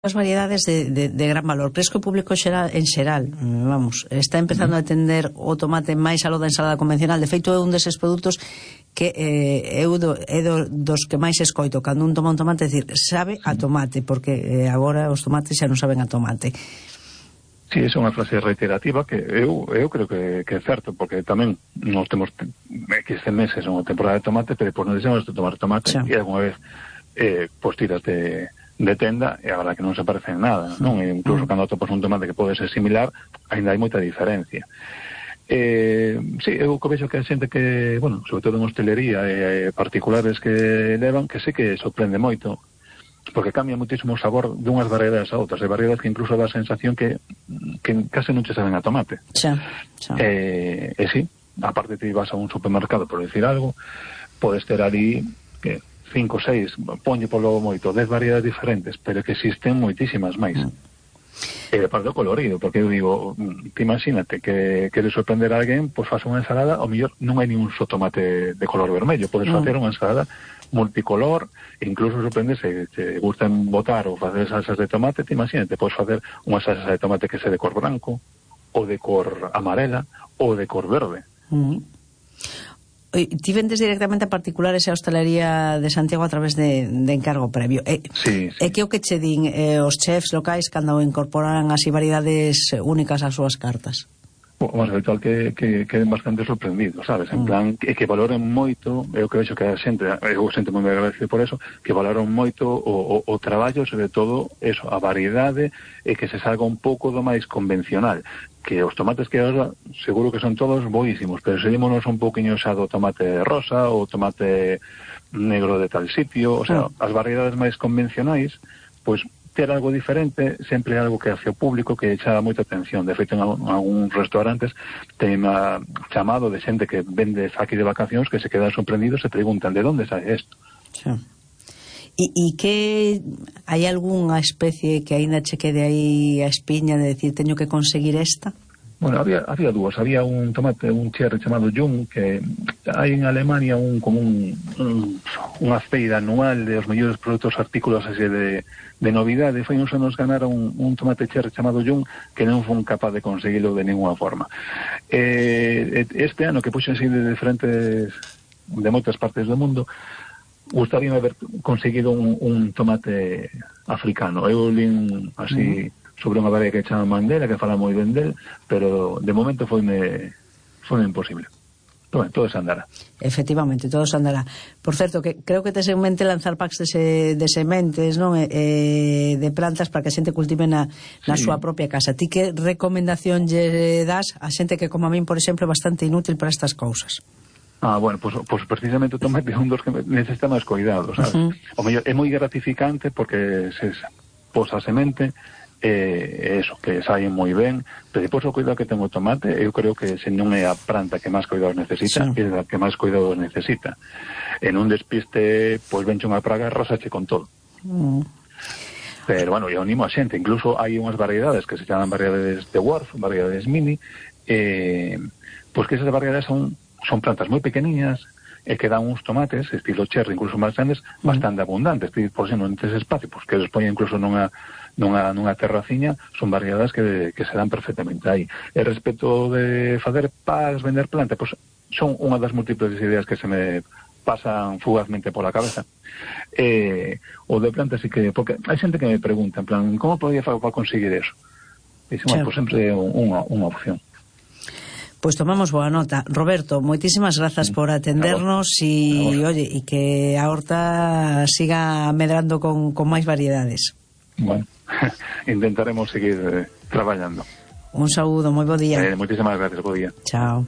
as variedades de gran valor. Crees que o público en xeral, vamos, está empezando a entender o tomate máis aló da ensalada convencional? De feito, é un deses produtos que é dos que máis escoito cando un toma un tomate, decir, sabe a tomate, porque agora os tomates xa non saben a tomate. Sí, é unha frase reiterativa que eu creo que é certo, porque tamén nos temos X meses unha temporada de tomate, pero depois non deixamos de tomar tomate, e alguna vez pois tiras de tenda e agora que non se parece en nada, non? E incluso cando atopas un tomate que pode ser similar, ainda hai moita diferencia. Sí, eu vexo que a xente que, bueno, sobre todo en hostelería e particulares que levan, que sí que sorprende moito, porque cambia muitísimo o sabor dunhas variedades a outras. Hai variedades que incluso dá a sensación que case non che saben a tomate. E sí, aparte te vas a un supermercado, por decir algo, podes ter ali que 5, 6, ponlle polo moito 10 variedades diferentes, pero que existen moitísimas máis. E de parte do colorido, porque eu digo, te imagínate que queres sorprender a alguén, pois faz unha ensalada, ao mellor non hai ningún só tomate de color vermello, podes facer unha ensalada multicolor, incluso sorprende se te gustan botar ou facer salsas de tomate, te imagínate, podes facer unha salsa de tomate que sea de cor branco, ou de cor amarela, ou de cor verde. Ti vendes directamente a particulares e a hostelería de Santiago a través de encargo previo. Sí. E que o que che din os chefs locais cando incorporan así variedades únicas ás súas cartas? O máis habitual que queden bastante sorprendidos, sabes? En plan, que valoren moito, eu que vexo que a xente, eu xente moi agradecido por eso, que valoran moito o traballo, sobre todo, eso, a variedade, e que se salga un pouco do máis convencional. Que os tomates que ahora seguro que son todos boísimos, pero seguímonos un pouquiño xa do tomate rosa ou tomate negro de tal sitio, o sea, as variedades máis convencionais, pois ter algo diferente sempre é algo que hace o público que chama moita atención. De feito, en algúns restaurantes ten chamado de xente que vende aquí de vacacións que se quedan sorprendidos e preguntan de onde sai isto. E que hai algunha especie que aínda che quede aí a espiña de decir teño que conseguir esta? Bueno, había dúas. Había un tomate, un cherry chamado Jung, que hai en Alemania unha feira anual de os mellores produtos artículos así de novidade. Foi uns anos ganaron un tomate cherry chamado Jung que non foi capaz de conseguirlo de ninguna forma. Este ano que puxen así de moitas partes do mundo, gustaríame haber conseguido un tomate africano. Eu lín así sobre unha variedade que chama Mandela, que fala moi ben del, pero de momento foi imposible. Todo se andará. Efectivamente, todo se andará. Por certo, que creo que tes en mente lanzar packs de sementes, non? De plantas para que a xente cultive na súa propia casa. Ti que recomendación lle das a xente que, como a min, por exemplo, é bastante inútil para estas cousas? Bueno, pues precisamente o tomate é un dos que necesita máis cuidado, sabes? O mellor é moi gratificante porque se posa a semente, eso, que saen moi ben, pero depois o cuidado que ten o tomate, eu creo que se non é a planta que máis cuidados necesita, é a que máis cuidados necesita. En un despiste, pois venche unha praga e arrasache con todo. Pero, bueno, eu animo a xente, incluso hai unhas variedades que se chaman variedades de Dwarf, variedades mini, pois que esas variedades son plantas moi pequeniñas e que dan uns tomates, estilo cherry, incluso máis grandes, bastante abundantes. Por exemplo, en ese espacio, pois que les poñen incluso nunha terraciña, son variedades que se dan perfectamente aí. E respecto de facer packs, vender planta, pois son unha das múltiples ideas que se me pasan fugazmente pola cabeza. O de planta sí que, porque hai xente que me pregunta, en plan, como podía facer para conseguir eso? Dicen, pois sempre é unha opción. Pois tomamos boa nota. Roberto, moitísimas grazas por atendernos e que a horta siga medrando con máis variedades. Bueno, intentaremos seguir traballando. Un saúdo, moi bo día. Moitísimas gracias, bo día. Chao.